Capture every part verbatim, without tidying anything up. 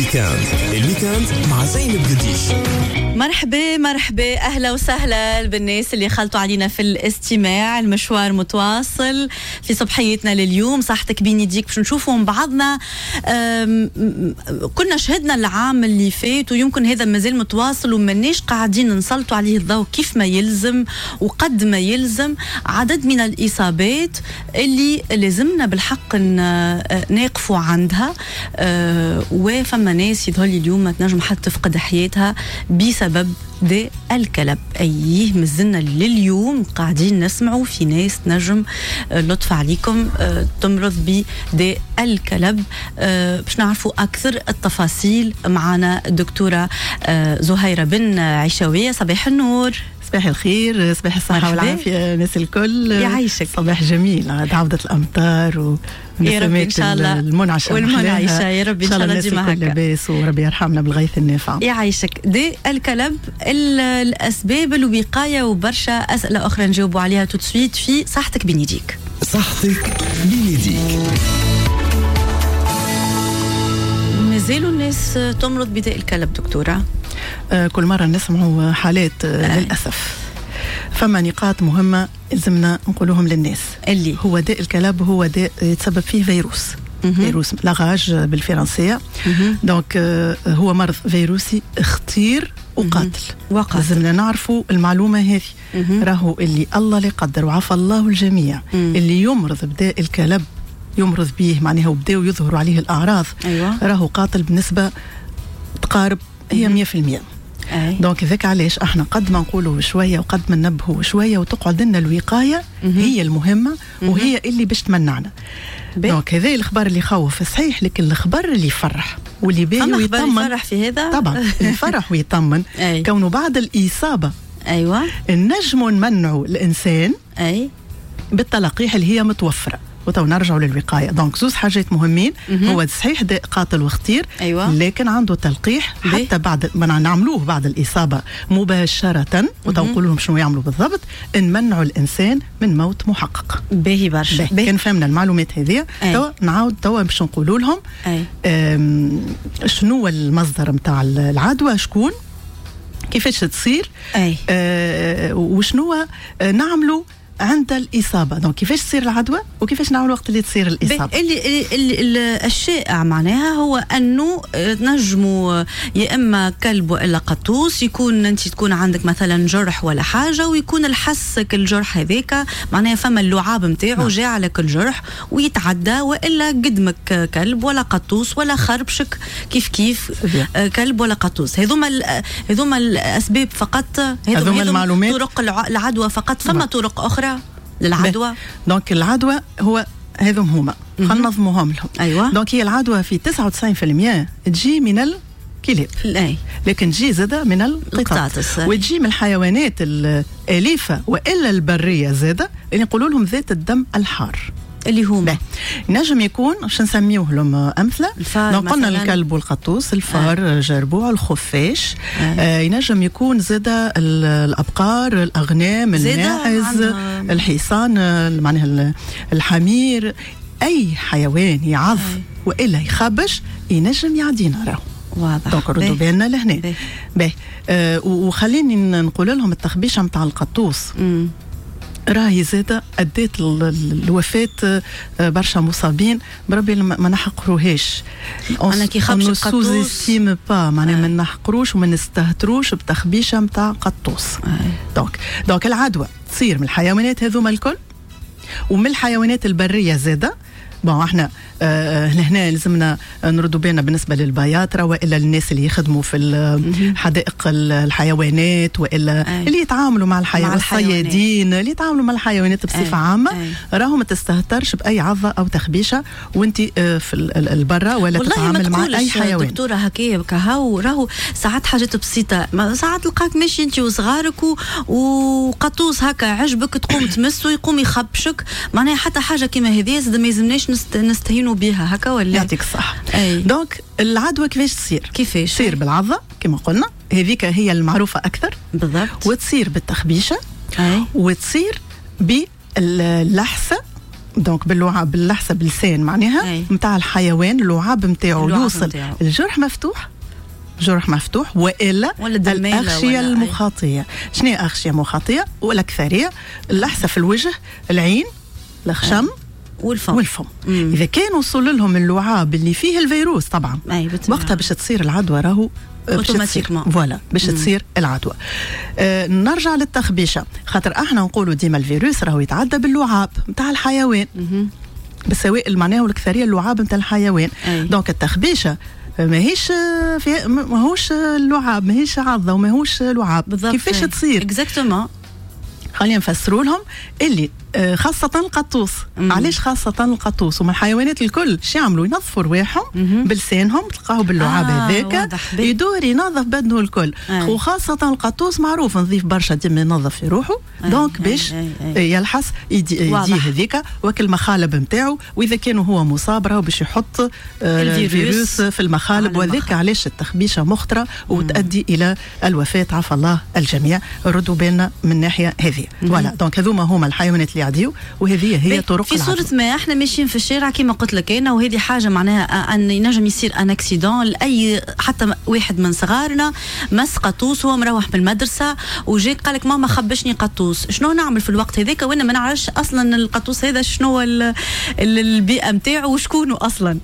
ال week-end ال week-end مع زينب قديش. مرحبا مرحبا، اهلا وسهلا بالناس اللي خلطوا علينا في الاستماع. المشوار متواصل في صبحيتنا لليوم، صحتك بين يديك باش نشوفوا من بعضنا. كنا شهدنا العام اللي فات ويمكن هذا مازال متواصل وماناش قاعدين نسلطوا عليه الضوء كيف ما يلزم وقد ما يلزم. عدد من الاصابات اللي لازمنا بالحق نقفوا عندها، وفما ناس يظهر لي اليوم ما تنجم حتى تفقد حياتها بسبب داء الكلب. أيه مازلنا لليوم قاعدين نسمعوا في ناس نجم لطف عليكم تمرض بداء الكلب. باش نعرفوا أكثر التفاصيل معنا الدكتورة زهيرة بن عيشاوية. صباح النور. صباح الخير، صباح الصحة والعافية الناس الكل. يعيشك. صباح جميل، عودة الأمطار و يا ربي إن شاء الله المنعشة والمنعشة يا ربي إن شاء الله ديما هكا لاباس وربي يرحمنا بالغيث النافع. يعيشك. داء الكلب، الأسباب، الوقاية، وبرشا أسئلة أخرى نجاوبوا عليها tout de suite في صحتك بين يديك. صحتك بين يديك. مازالوا الناس تمرض بداء الكلب دكتورة؟ آه كل مرة نسمعوا حالات آه للأسف. فما نقاط مهمة لازمنا نقولوهم للناس. اللي هو داء الكلب هو داء يتسبب فيه فيروس. مم. فيروس la rage بالفرنسية. donc آه هو مرض فيروسي خطير وقاتل. وقاتل. لازمنا نعرفوا المعلومة هذه. راهو اللي الله اللي قدر وعفى الله الجميع. مم. اللي يمرض بداء الكلب يمرض به معناها وبداو يظهروا عليه الأعراض. أيوة. راهو قاتل بنسبة تقارب هي مية في المية. donc ذاك علاش احنا قد ما نقولوا شوية وقد ما ننبهوا شوية وتقعد لنا الوقاية هي المهمة وهي اللي باش تمنعنا. donc هذا الخبر اللي يخوف صحيح، لكن الخبر اللي يفرح واللي باهي ويطمن. يفرح في هذا طبعا يفرح ويطمن كونه بعد الاصابة ايوه نجموا نمنعوا الانسان اي بالتلقيح اللي هي متوفرة. وتو نرجعوا للوقايه. donc زوز حاجات مهمين. مم. هو صحيح داء قاتل وخطير، أيوة. لكن عنده تلقيح حتى بعد ما نعملوه بعد الاصابة مباشرة، وتو نقول لهم شنو يعملوا بالضبط، نمنعوا الانسان من موت محقق. باهي برشا. كان فهمنا المعلومات هذه توا نعاود توا باش نقولوا لهم شنو المصدر نتاع العدوى، شكون، كيفاش تصير، آه وشنو نعملوا عند الإصابة. donc كيفاش تصير العدوى وكيفاش نعمل وقت اللي تصير الإصابة. اللي, اللي الشائع معناها هو أنه تنجموا يا إما كلب وإلا قطوس، يكون أنت تكون عندك مثلا جرح ولا حاجة ويكون الحسك الجرح هذاك معناها فما اللعاب نتاعو جاء على كل جرح ويتعدى، وإلا قدمك كلب ولا قطوس ولا خربشك كيف كيف كلب ولا قطوس. هذوما هذوما الأسباب فقط، هذوما المعلومات، طرق العدوى فقط. فما طرق أخرى للعدوى؟ donc العدوى هو هذم هما خلينا ننظموهم لهم. أيوة. donc هي العدوى في تسعة وتسعين بالمية تجي من الكلاب، أي. لكن تجي زادة من القطاطس، وتجي من الحيوانات الأليفة وإلا البرية زادة اللي نقولوا لهم ذات الدم الحار اللي هما نجم يكون باش نسميوه لهم امثلة. donc قلنا الكلب والقطوس، الفار، آه. الجربوع، الخفاش، آه. آه ينجم يكون زاده الابقار، الاغنام، الماعز، الحصان، معناها الحمير، اي حيوان يعض آه. والا يخبش ينجم يعدينا راهو. واضح. donc ردوا بالنا لهنا. باهي. آه وخليني نقول لهم التخبيشه نتاع القطوس مم. راهي زادة أديت الوفاة برشا مصابين، بربي ما نحقروهاش. أنا كي خبش القطوس sous-estime pas، معناها ما نحقروش وما نستهتروش بتخبيشة متاع قطوس. donc donc العدوى تصير من الحيوانات هذوما الكل ومن الحيوانات البرية زادة. bon احنا آه هنا لازمنا نردوا بالنا بالنسبة للبياطره والا الناس اللي يخدموا في حدائق الحيوانات والا أي. اللي يتعاملوا مع الحيوانات، الصيادين اللي يتعاملوا مع الحيوانات بصفة عامة، راهو ما تستهترش باي عضه او تخبيشه وانت آه في البرة ولا تتعامل مع اي حيوان. دكتورة هكايا كهو راهو ساعات حاجات بسيطة، ساعات تلقاك ماشي انت وصغارك وقطوس هكا عجبك تقوم تمسه يقوم يخبشك، معناها حتى حاجة كيما هذه زاد ما يلزمناش نستهينوا بها هكا ولا؟ يعطيك الصح. donc العدوى كيفاش تصير؟ كيفاش؟ تصير بالعضه كما قلنا، هذيك هي المعروفة اكثر بالضبط، وتصير بالتخبيشه، أي. وتصير باللحسه donc باللعاب، باللحسه، باللسان معناها نتاع الحيوان، اللعاب نتاعو يوصل متاعو. الجرح مفتوح، جرح مفتوح والا الاغشيه المخاطيه. شنو هي اغشيه مخاطيه؟ والاكثريه اللحسه في الوجه، العين، الخشم والفم والفم. مم. اذا كان وصل لهم اللعاب اللي فيه الفيروس طبعا وقتها باش تصير العدوى، راهو automatiquement voilà باش تصير العدوى. آه نرجع للتخبيشه، خاطر احنا نقولوا ديما الفيروس راهو يتعدى باللعاب نتاع الحيوان، بالسوائل معناها، والاكثريه اللعاب نتاع الحيوان. donc التخبيشه ماهيش في ماهوش اللعاب، ماهيش عضه وماهوش لعاب. بالضبط. كيفاش تصير؟ exactement. خلينا نفسروا لهم اللي آه، خاصة القطوس. مم. علاش خاصة القطوس؟ ومن الحيوانات الكل شو يعملوا؟ ينظفوا رواحهم بلسانهم، تلقاو باللعاب آه هذاك يدور ينظف بدنه الكل. آه. وخاصة القطوس معروف نظيف برشا، ديما ينظف في روحه. donc باش يلحس يدي هذيك وكل المخالب نتاعو، واذا كان هو مصاب راهو باش يحط آه الفيروس في المخالب، وذاك علاش التخبيشه مخطره وتؤدي الى الوفاه، عفى الله الجميع. ردوا بالنا من الناحية هذه. voilà، donc هذوما هما الحيوانات اللي يعديو، وهذه هي طرق في صورة ما احنا ماشيين في الشارع كما قلت لك انا، وهذه حاجة معناها ان ينجم يصير un accident لاي حتى واحد من صغارنا مس قطوس، هو مروح من المدرسة وجاي قال لك ماما خبشني قطوس، شنو نعمل في الوقت هذاك وانا ما نعرفش اصلا القطوس هذا شنو البيئة نتاعو وشكونه اصلا؟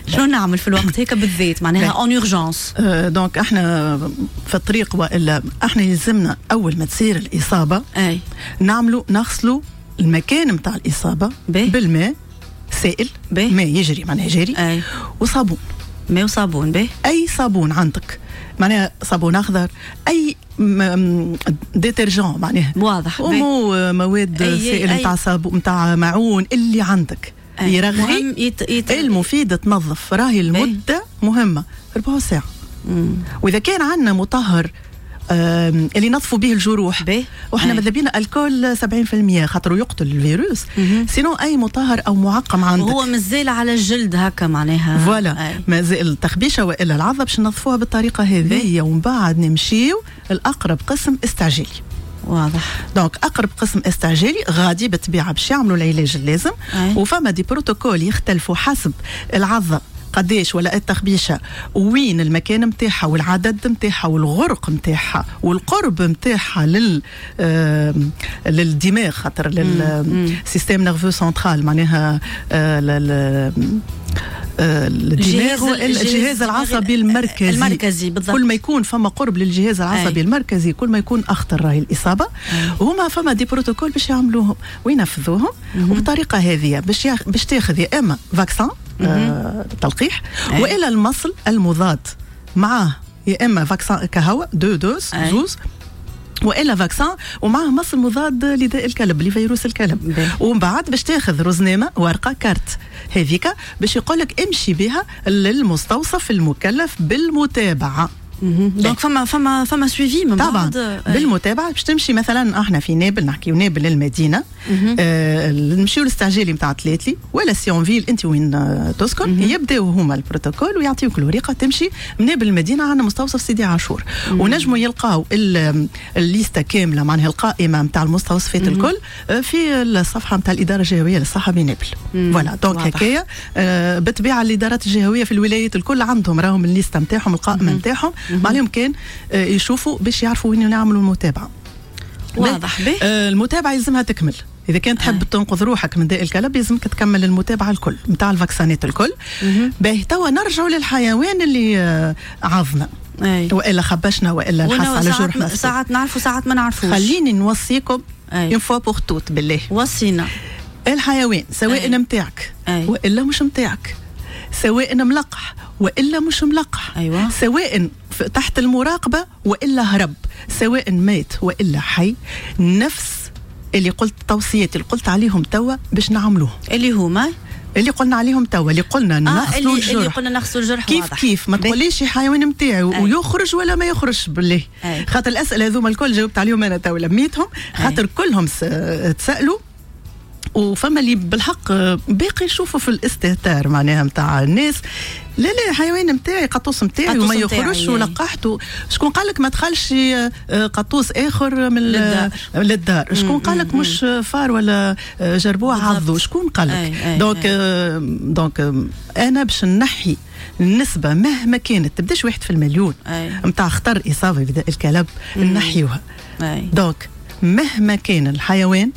شنو نعمل في الوقت هيك بالذات معناها en urgence؟ donc احنا في الطريق والا احنا يلزمنا اول ما تصير الاصابة اي نعملوا نغسلوا المكان نتاع الاصابة بي. بالماء سائل، بي. ماء يجري معناها جاري. أي. وصابون. ماء وصابون به. اي صابون عندك، معناها صابون اخضر، اي détergent معناها. واضح. ومو مواد سائل نتاع صابون نتاع معون اللي عندك يرغي. يت... يت... المفيد تنظف، راهي المدة مهمة ربع ساعة. مم. واذا كان عندنا مطهر اللي نظفوا به الجروح، وحنا ماذا بينا alcool سبعين بالمية خاطر يقتل الفيروس، sinon اي مطهر او معقم عندك هو مازال على الجلد هكا معناها. voilà، مازال التخبيشه والا العضه باش ننظفوها بالطريقة هذه، ومن بعد نمشيو الاقرب قسم استعجالي. واضح. donc اقرب قسم استعجالي غادي بالطبيعة باش يعملوا العلاج اللازم. أي. وفما des protocoles يختلفوا حسب العضه قداش ولا التخبيشه وين المكان نتاعها والعدد نتاعها والغرق نتاعها والقرب نتاعها لل آه للدماغ، خاطر لل système nerveux central معناها آه الدماغ، الجهاز العصبي المركزي. المركزي بالضبط. كل ما يكون فما قرب للجهاز العصبي أي. المركزي كل ما يكون اخطر راهي الاصابة. وهما فما des protocoles باش يعملوهم وينفذوهم، وبالطريقه هذه باش ياخ... باش تاخذ يا اما vaccin آه تلقيح، والا المصل المضاد معاه، يا اما vaccin كهو deux doses زوز، والا vaccin ومعه مصل مضاد لداء الكلب، لفيروس الكلب. ومن بعد باش تاخذ رزنامه، ورقة كارت هذيك باش يقول لك امشي بها للمستوصف المكلف بالمتابعة. donc فما فما فما suivi من طبعا بعد بالمتابعة. باش تمشي مثلا احنا في نابل، نحكيو نابل المدينه، آه نمشيو للاستعجالي نتاع تلاتلي ولا سيونفيل انت وين تسكن، يبداو هما البروتوكول ويعطيوك الورقة تمشي من نابل المدينة عندنا مستوصف سيدي عاشور، ونجموا يلقاو الليستة كاملة معناها القائمة نتاع المستوصفات الكل في الصفحة نتاع الادارة الجهوية للصحة بنابل. voilà، donc هكايا آه بالطبيعة الادارات الجهوية في الولايات الكل عندهم راهم الليستة نتاعهم، القائمة نتاعهم، ما عليهم كان يشوفوا باش يعرفوا وين نعملوا المتابعة. واضح. به المتابعة يلزمها تكمل، اذا كان تحب آه. تنقذ روحك من داء الكلب لازمك تكمل المتابعة الكل نتاع الفاكسانات الكل. باهي توا نرجعوا للحيوان اللي عضنا والا خبشنا والا لحس على جرح. ساعات نعرفوا ساعات ما نعرفوش. خليني نوصيكم une fois pour toutes بالله. وصينا الحيوان سواء نتاعك والا مش نتاعك، سواء ملقح والا مش ملقح، أيوة. سواء تحت المراقبة والا هرب، سواء مات والا حي، نفس اللي قلت التوصيات اللي قلت عليهم توا باش نعملوه، اللي هما اللي قلنا عليهم توا، اللي قلنا نغسلوا آه الجرح، اللي قلنا نغسلوا الجرح. كيف واضح. كيف ما تقوليش حيوان نتاعي ويخرج ولا ما يخرج بالله، خاطر الاسئلة هذوما الكل جاوبت عليهم انا توا لميتهم، خاطر كلهم تسالوا وفما اللي بالحق باقي يشوفوا في الاستهتار معناها نتاع الناس، لا لا حيوان نتاعي قطوس نتاعي وما يخرجش ولقحته. شكون قال لك ما دخلش قطوس اخر من للدار, للدار. شكون قال لك مش فار ولا جربوع عضو؟ شكون قال لك؟ donc donc انا باش نحي النسبة مهما كانت تبداش واحد في المليون نتاع خطر إصابة بداء الكلب نحيوها. donc مهما كان الحيوان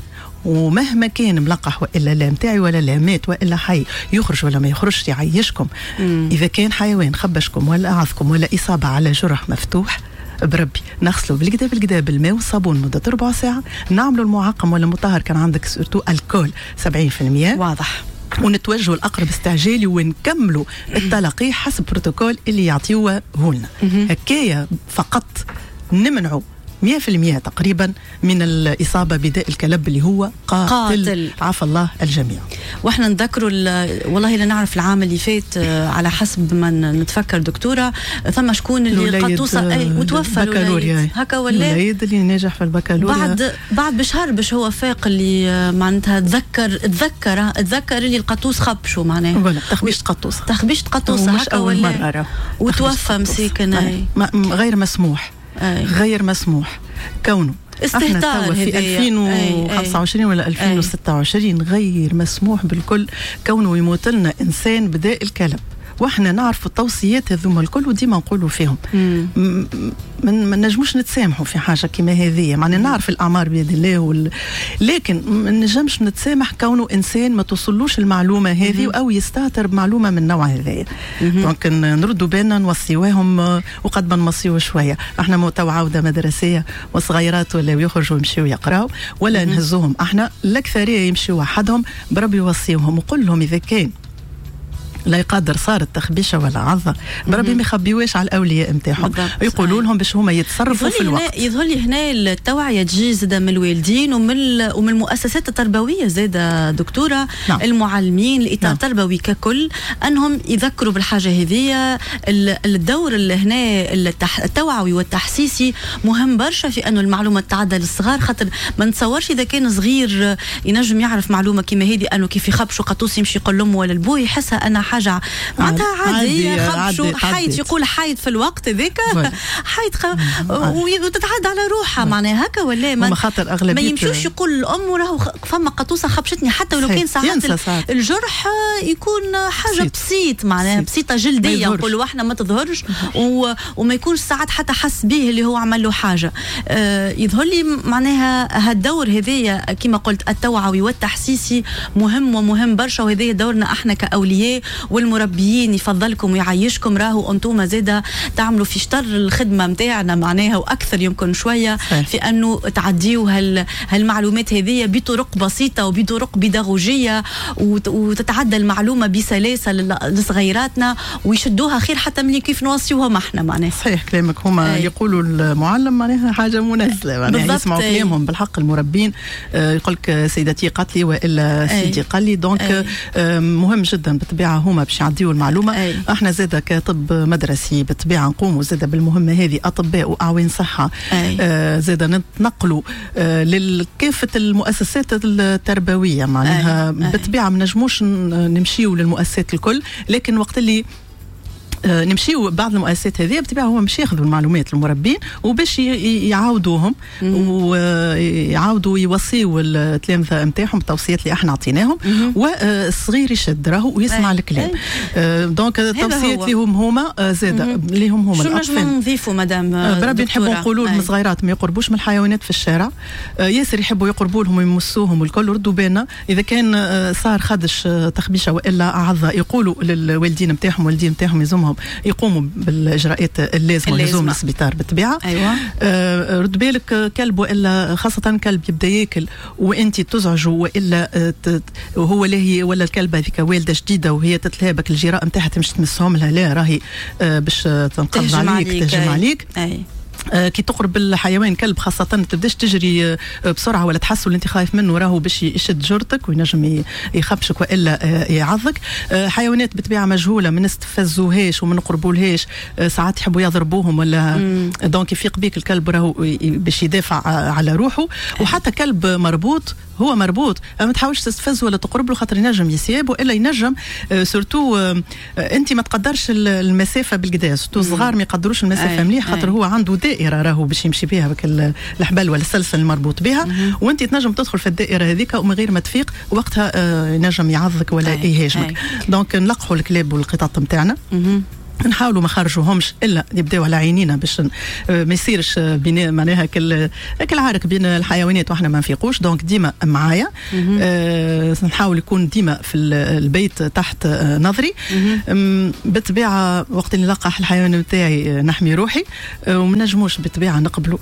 ومهما كان ملقح والا لا نتاعي ولا لا، مات والا حي، يخرج ولا ما يخرجش، يعيشكم. مم. اذا كان حيوان خبشكم ولا عضكم ولا اصابه على جرح مفتوح، بربي نغسلوا بالكدا بالكدا بالماء والصابون مده ربع ساعة، نعملوا المعقم ولا المطهر كان عندك surtout alcool سبعين بالمية واضح، ونتوجهوا الاقرب استعجالي ونكملوا التلقيح حسب بروتوكول اللي يعطيوه هولنا. هكايا فقط نمنعوا مية في المية تقريبا من الإصابة بداء الكلب اللي هو قاتل, قاتل. عفى الله الجميع. واحنا نذكروا والله لا نعرف العام اللي فات على حسب ما نتفكر دكتورة، ثم شكون اللي قطوسة اي وتوفى البكالوريا هكا ولا الوليد اللي ناجح في البكالوريا بعد بعد بشهر باش هو فاق اللي معناتها تذكر تذكر تذكر اللي القطوس خبشوا معناها تخبيش قطوسة تخبيش قطوسة هكا ولا وتوفى مسكين. غير مسموح. أي. غير مسموح كونه استهتار في ألفين وخمسة وعشرين ولا ألفين وستة وعشرين غير مسموح بالكل كونه يموت لنا انسان بداء الكلب، واحنا نعرفوا التوصيات هذوما الكل وديما نقولوا فيهم من ما نجموش نتسامحوا في حاجة كيما هذه، معناها نعرف الاعمار بيد الله وال... لكن ما نجمش نتسامح كونه انسان ما توصلوش المعلومة هذه او يستهتر بمعلومة من النوع هذايا. donc نردوا بالنا نوصيوهم وقد ما نوصيو شوية، احنا تو عوده مدرسيه وصغيرات ولا يخرجوا يمشيو يقراو ولا نهزوهم، احنا الاكثرية يمشيو وحدهم، بربي يوصيوهم وقول لهم اذا كان لا يقدر صارت تخبيشه ولا عضه بربي ما يخبيوش على الاولياء نتاعهم، يقولوا لهم باش هما يتصرفوا في الوقت. يظهر لي هنا التوعية تجي زاده من الوالدين ومن ومن المؤسسات التربوية زاده دكتورة. نعم. المعلمين، الاطار نعم. التربوي ككل، انهم يذكروا بالحاجة هذه. الدور اللي هنا التوعوي والتحسيسي مهم برشا في انه المعلومة تعدى للصغار، خاطر ما نتصورش اذا كان صغير ينجم يعرف معلومة كيما هذه انه كيف يخبشوا قطوس يمشي يقول لامه ولا لبوه، يحسها انها حاجة معناتها عادية، خبشوا حيط يقول حيط في الوقت هذاك حيط خ... وتتعدى على روحها معناها هكا ولا ما, ما يمشوش يقول الام راهو فما قطوسه خبشتني، حتى ولو كان ساعات الجرح يكون حاجة بسيط, بسيط معناها بسيطة جلدية نقولوا احنا ما تظهرش و... وما يكونش ساعات حتى حس به اللي هو عمل له حاجة. آه يظهر لي معناها هالدور هذايا كما قلت التوعوي والتحسيسي مهم ومهم برشا، وهذايا دورنا احنا كاولياء والمربيين. يفضلكم ويعيشكم راهو انتم زاده تعملوا في شطر الخدمة نتاعنا معناها واكثر يمكن شوية في انه تعديوا هال هالمعلومات هذه بطرق بسيطة وبطرق بيداغوجيه وتتعدى المعلومة بسلاسة لصغيراتنا ويشدوها خير حتى من كيف نوصيوهم احنا معناها. صحيح كلامك، هما يقولوا المعلم معناها حاجة منزله معناها يسمعوا كلامهم بالحق المربين. يقول لك سيدتي قالت لي والا سيدي قال لي، donc مهم جدا بالطبيعة هما باش يعديوا المعلومة. أي. احنا زاده كطب مدرسي بالطبيعة نقوموا زاده بالمهمه هذه، اطباء واعوان صحة آه زاده نتنقلوا آه لكافة المؤسسات التربوية معناها بالطبيعة ما نجموش نمشيوا للمؤسسات الكل، لكن وقت اللي نمشيو بعض المؤسسات هذه بالطبيعة هما مش ياخذوا المعلومات المربين وباش يعاودوهم ويعاودوا يوصيوا التلامذه نتاعهم بالتوصيات اللي احنا عطيناهم، والصغير يشد راهو ويسمع الكلام. donc التوصيات ليهم هما زاده ليهم هما. شنو نجمو نضيفوا مدام بربي؟ نحبوا نقولوا لهم الصغيرات ما يقربوش من الحيوانات في الشارع، ياسر يحبوا يقربوا لهم ويمسوهم والكل. ردوا بالنا اذا كان صار خدش تخبيشه والا عضه يقولوا للوالدين نتاعهم، والدين نتاعهم يزومهم يقوموا بالاجراءات اللازمة لزوم السبيطار بالطبيعة. ايوه. آه رد بالك كلب والا خاصة كلب يبدا ياكل وانت تزعجه والا وهو لاهي، ولا الكلبة هذيك والده جديدة وهي تتلهى بك الجراء نتاعها تمشي تمسهم لها، لا راهي آه باش تنقض عليك, عليك تهجم عليك. أي. كي تقرب الحيوان كلب خاصة تبداش تجري بسرعة ولا تحسوا اللي انت خايف منه، راهو باش يشد جرتك وينجم يخبشك والا يعضك. حيوانات بطبيعة مجهولة ما نستفزوهاش وما نقربولهاش، ساعات يحبوا يضربوهم ولا donc يفيق بيك الكلب راهو باش يدافع على روحه. وحتى كلب مربوط، هو مربوط ما تحاولش تستفز ولا تقرب له خاطر ينجم يسيب والا ينجم surtout انت ما تقدرش المسافة بالقدا، surtout الصغار ما يقدروش المسافة مليح خاطر هو عنده دائرة راهو باش يمشي بها بك الحبل ولا السلسلة المربوط بها، وانت تنجم تدخل في الدائرة هذيك ومن غير ما تفيق وقتها ينجم يعضك ولا يهاجمك. donc نلقحوا الكلاب والقطط نتاعنا، نحاولوا ما خرجوهمش الا يبداو على عينينا باش ما يصيرش بين معناها كل كل عارك بين الحيوانات واحنا ما نفيقوش. donc ديما معايا، آه نحاول يكون ديما في البيت تحت نظري. بالطبيعة وقت اللي نلقح الحيوان نتاعي نحمي روحي، وما نجموش بالطبيعة نقبلوا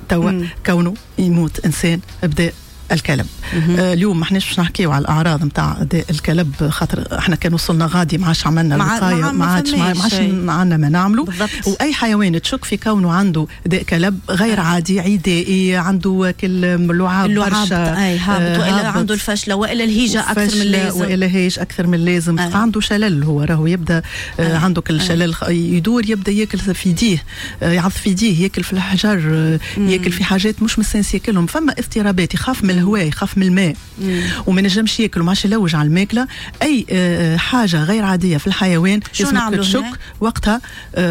توا كونه يموت انسان بدا الكلب. آه اليوم ما احناش باش نحكيو على الاعراض نتاع داء الكلب خاطر احنا كان وصلنا غادي ما عادش عملنا الوقاية، ما عادش ما عادش عندنا ما نعملوا. واي حيوان تشك في كونه عنده داء كلب غير عادي، عدائي، عنده كل اللعاب برشا، اي هابط، والا عنده الفشله والا الهيجه اكثر من اللازم، والا هيج اكثر من اللازم، آه. عنده شلل، هو راهو يبدا آه. عنده كل شلل يدور، يبدا ياكل في يديه، يعض في يديه، ياكل في الحجر، ياكل في حاجات مش مستانس ياكلهم، فما اضطرابات، يخاف من الهواء، يخاف من الماء وما نجمش ياكل وما عادش يلوج على الماكلة. اي حاجة غير عادية في الحيوان لازمك تشك وقتها،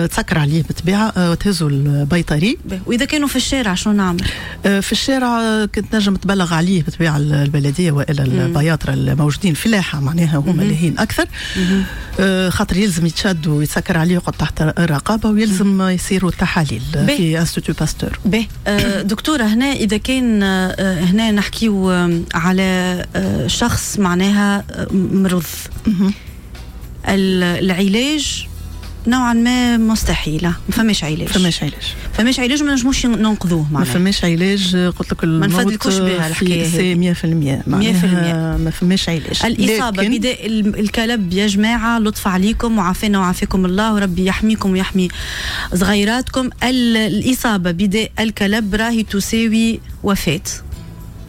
تسكر عليه بالطبيعة وتهزوا البيطري. واذا كانوا في الشارع شنو نعمل؟ في الشارع كنت نجم تبلغ عليه بالطبيعة البلدية والا البياطره الموجودين في اللاحه، معناها هما لاهين اكثر، خاطر يلزم يتشد ويتسكر عليه ويقعد تحت الرقابة، ويلزم يصيروا التحاليل في Institut Pasteur. به دكتورة، هنا اذا كان هنا نحكيو على شخص معناها مرض، العلاج نوعا ما مستحيلة، ما فماش علاج، فماش علاج، فماش علاج، ما نجموش ننقذوه معناها، ما فماش علاج. قلت لك ما نفدلكوش بها الحكاية هذه مية في المية، مية في المية ما فماش علاج. الاصابة بداء الكلب يا جماعة، لطف عليكم وعافانا وعافاكم الله، وربي يحميكم ويحمي صغيراتكم. الاصابة بداء الكلب راهي تساوي وفاه،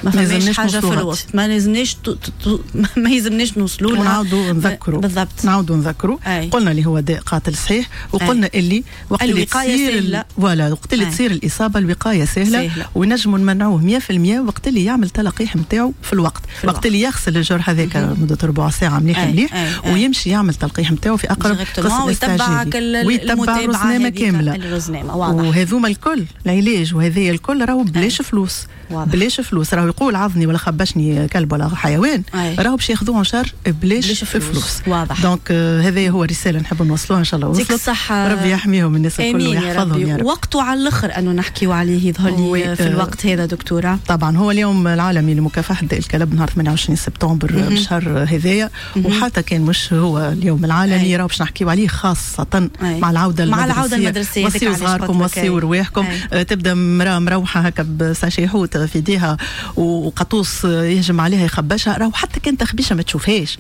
ما فماش حاجة في الوسط، ما لازمناش ت... ت... ما يلزمناش نوصلوا لها. ونعاودوا نذكروا بالضبط، نعاودوا نذكروا. قلنا اللي هو داء قاتل صحيح، وقلنا أي. اللي وقت اللي تصير ال... voilà وقت اللي تصير الاصابة الوقاية سهلة, سهلة. ونجموا نمنعوه مية في المية وقت اللي يعمل تلقيح نتاعو في الوقت، في الوقت اللي يغسل الجرح هذاك مده ربع ساعة مليح مليح، أي. ويمشي يعمل تلقيح نتاعو في اقرب قسم استعجالي، ويتبع الرزنامه كاملة. وهذوما الكل العلاج وهذايا الكل راهو بلاش فلوس، بلاش فلوس. راهو يقول عضني ولا خبشني كلب ولا حيوان، راهو باش ياخذوه en charge بلاش فلوس. فلوس. واضح. donc آه هذه هو رسالة نحب نوصلوها ان شاء الله وصلت. الصحة، ربي يحميهم الناس الكل ويحفظهم يا رب. وقته على الاخر انه نحكيو عليه يظهر لي في الوقت هذا دكتورة. طبعا هو اليوم العالمي لمكافحة داء الكلب نهار ثمانية وعشرين سبتمبر بالشهر هذايا، وحتى كان مش هو اليوم العالمي راهو باش نحكيو عليه خاصة أي. مع العودة مع العودة المدرسية. وصيوا صغاركم، وصيوا رواحكم. تبدا مراة مروحة هكا ب sachet حوت في يديها وقطوس يهجم عليها يخبشها، راهو حتى كان تخبيشه ما تشوفهاش،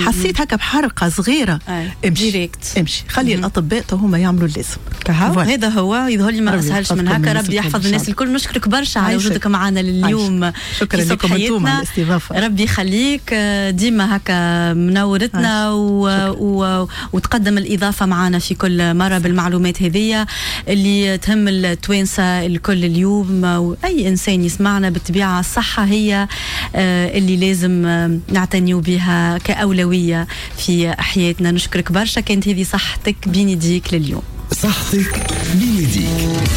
حسيت هكا بحرقه صغيرة، امشي direct. امشي خلي الاطباء هما يعملوا اللازم. هذا هو يظهر لي ما اسهلش من هكا. ربي يحفظ الناس الكل. نشكرك برشا على وجودك معنا لليوم. شكرا لكم انتم على الاستضافة. ربي يخليك ديما هكا منورتنا و... و... وتقدم الاضافة معنا في كل مرة بالمعلومات هذه اللي تهم التوانسة الكل اليوم واي انسان يسمعنا. بالطبيعة الصحة هي اللي لازم نعتنيو بها كأولوية في حياتنا. نشكرك برشا، كانت هذه صحتك بين يديك لليوم. صحتك بين يديك.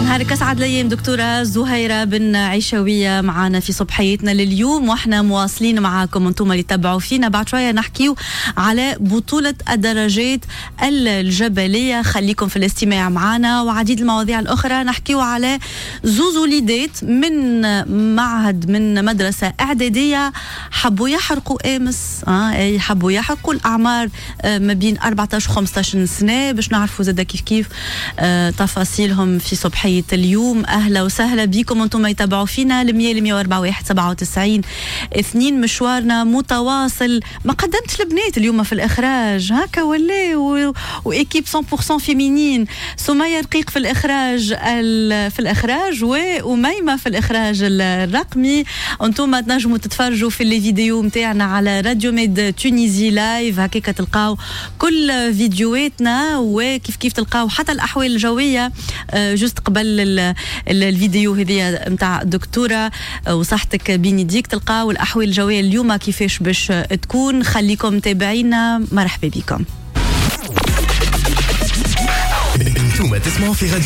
نهارك اسعد الايام دكتورة زهيره بن عيشويه معنا في صبحيتنا لليوم، واحنا مواصلين معاكم انتم اللي تبعوا فينا. بعد شوية نحكيو على بطوله الدراجات الجبلية، خليكم في الاستماع معنا وعديد المواضيع الاخرى. نحكيو على زوز وليدات من معهد من مدرسه اعدادية حبوا يحرقوا امس، اه اي حبوا يحرقوا، الاعمار ما بين أربعطاش و خمسطاش سنة، باش نعرفوا زاد كيف كيف آه تفاصيلهم في صبحيه اليوم. اهلا وسهلا بكم انتم يتابعوا فينا المية مية وأربعة واحد سبعة وتسعين اثنين. مشوارنا متواصل. ما قدمتش البنات اليوم في الاخراج هكا ولا و... و équipe مية بالمية féminine. سمية رقيق في الاخراج ال... في الاخراج وأميمة في الاخراج الرقمي. انتم تنجموا تتفرجوا في les vidéos نتاعنا على راديو ميد Tunisie live، هكاك تلقاو كل فيديوهاتنا، وكيف كيف تلقاو حتى الاحوال الجوية آه، juste قبل الفيديو هذه نتاع الدكتورة آه، وصحتك بين يديك تلقاو الاحوال الجوية اليوم كيفاش باش تكون. خليكم تابعينا، مرحبا بكم. انتم تسمعوا في راديو